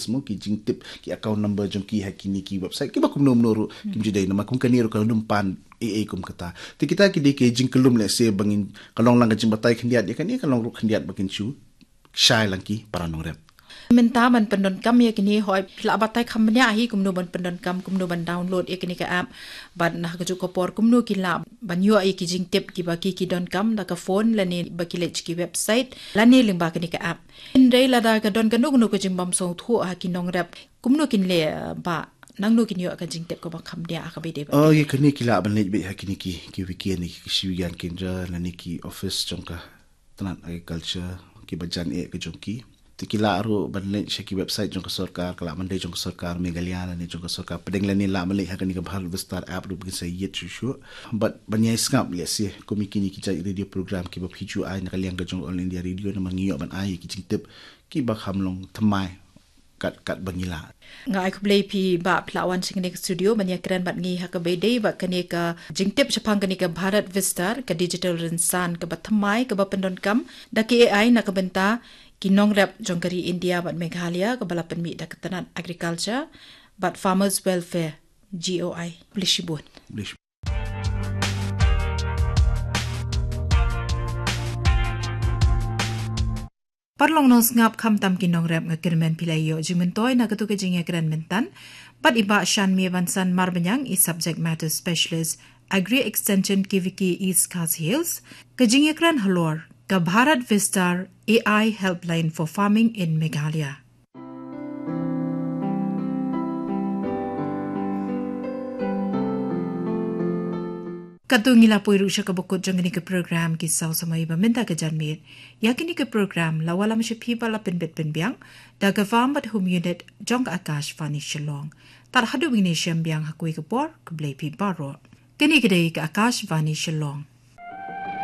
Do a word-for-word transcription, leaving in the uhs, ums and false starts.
Mo ki jingtip ki account number jong ki ha kine ki website kiba kumno kumno ruh kim ju dei, namar kum kane ruh ka nym pan ei ei kum kata. Te kita ki dei ki jingkyllum lehse ba ngin ka long lang ka jingbatai khyndiat ïa kane, ka long ruh khyndiat ba kin shu shai lang ki para nongrep. Mynta ban pyndonkam ïa kine, hooid, phi lah batai kham bniah hi kumno ban pyndonkam, kumno ban download ïa kine ka app. Bad na kajuh ka por kumno ki lah ban ïoh ïa ki jingtip kiba ki ki donkam da ka phone lane ba ki leit ki website lane lyngba kane ka app. Hynrei lada ka don kano kano ka jingbym sngewthuh ha ki nongrep, kumno kin leh, uh, ba nangno kin ïoh ka jingtip kaba kham bniah ha kaba ïadei bad. Oh, ïa kane ki lah ban leit beit ha kine ki, ki wiki ne ki Krishi Vigyan Kendra lane ki office jong ka tnat agriculture kiba jan eh ka jong ki. Te ki lah ruh ban leit sha ki website jong ka sorkar, ka lah ban dei jong ka sorkar Meghalaya lane jong ka sorkar pdeng lane lah ban leit ha kane ka Bharat Vistar app ruh ba kin sa ïit shuh shuh. Bad ban ïai sngap lehse kum ïa kine ki jait radio program kiba phi ju ai na ka liang ka jong All India Radio, namar ngi ïoh ban ai ki jingtip kiba kham long thymmai kat kat ba ngi lah. Nga ai khublei phi Bah, phi la wan sha kane ka studio ban ïakren bad ngi ha kaba ïadei bad kane ka jingtip shaphang kane ka Bharat Vistar, ka digital rynsan kaba thymmai kaba pyndonkam da ka A I na ka bynta ki nongrep jong ka ri India bad Meghalaya, kaba la pynmih da ka tnat agriculture bad farmers welfare, G O I. Khublei shibun. Khublei shibun. Paralok nongsngap, khamtam ki nongrep, nga kyrmen phi la ïoh jingmyntoi na katu ka jingïakren mynta bad i Bah Shanmia Bansan Marbaniang, i subject matter specialist Agri Extension K V K East Khasi Hills. Ka jingïakren halor ka Bharat Vistar A I Helpline for Farming in Meghalaya. Katto ngi la poi ruh sha kaba kut jong kane ka program Ki Saw Samoi ba mynta ka janmiet. Ïa kane ka program la wallam sha phi bad la pynbit pynbiang da ka Farm bad Home Unit jong ka Akashvani Shillong. Tad haduh ba ngin ïashem biang ha kawei ka por, khublei phi baroh. Kane ka dei ka Akashvani Shillong.